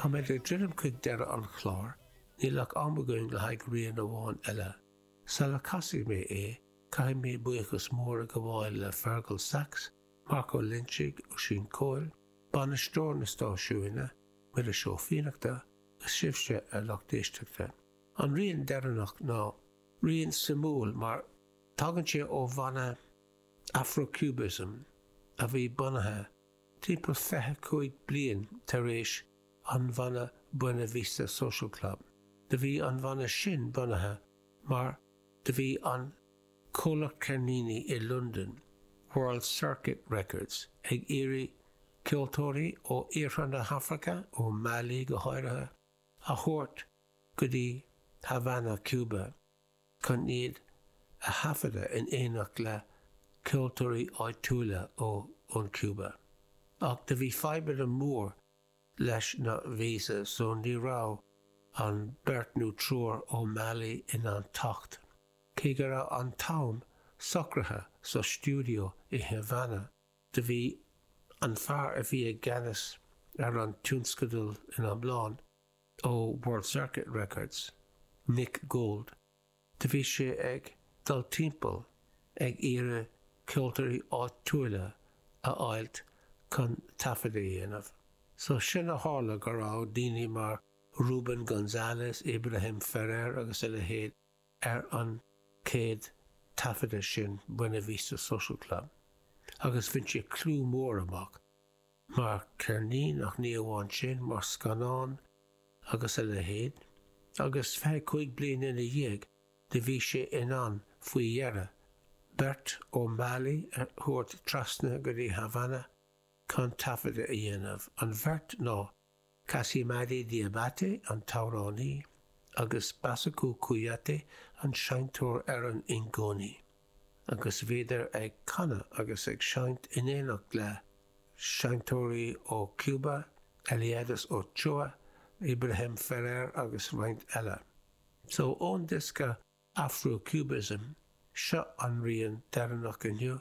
Táimid ag druidim chuig deireadh an chláir, níl ach am againn le haghaidh rian amháin eile. Sula casfaidh mé é, caithfidh mé buíochas mór a ghabháil le Fergal Sachs, Marc Ó Loinsigh, Oisín Coyle, bainisteoir na stáisiúine, Muiris Ó Fiannachta, agus sibhse, a lucht éisteachta. An rian deireanach ná rian suimiúil mar tagann sé ó bhanna Afro-Cubism a bhí bunaithe timpeall 25 bliain tar éis an bhanna Buena Vista Social Club. Do bhí an bhanna sin bunaithe mar do bhí an comhlacht ceirníní i Londain, World Circuit Records, ag iarraidh ceoltóirí ó iarthar na hAfraice, ó Mali go háirithe, a thabhairt go dtí Havana, Cuba. chun iad a thaifeadadh in éineacht le ceoltóirí áitiúla ón Cuba. Ach do bhí fadhbanna mór leis na visa so ní raibh an beirt nó triúr ó Mali in ann teacht. Cé go raibh an t-am socraithe sa stiúideo i Havana, do bhí an fear a bhí i gceannas ar an tionscadal in iomlán, ó World Circuit Records, Nick Gold, do bhí sé ag dul timpeall ag iarraidh ceoltóirí áitiúla a fháilt chun taifead a dhéanamh. So sin a tharla go raibh daoine mar Ruben Gonzales, Ibrahim Ferrer agus a leithéid ar an chéad taifeadadh sin, Buena Vista Social Club, agus bhain sé clú mór amach. mar cheirnín ach ní amháin sin, mar scannán agus a leithéid, agus 25 bliain ina dhiaidh do bhí sé in ann faoi dheireadh beirt ó Mali a thabhairt trasna go dtí Havana chun taifeadadh a dhéanamh. An bheirt ná Kassimari Diabaté, an t-amhránaí, agus Bassekou Kouyaté, an seinnteoir ar an ngoni. Agus bhíodar ag canadh agus ag seinnt in éineacht le seinnteoirí ó Cuba, Eliades Ochoa, Ibrahim Ferrer agus roinnt eile. So, ón diosca Afro-Cubism, seo an rian deireanach inniu.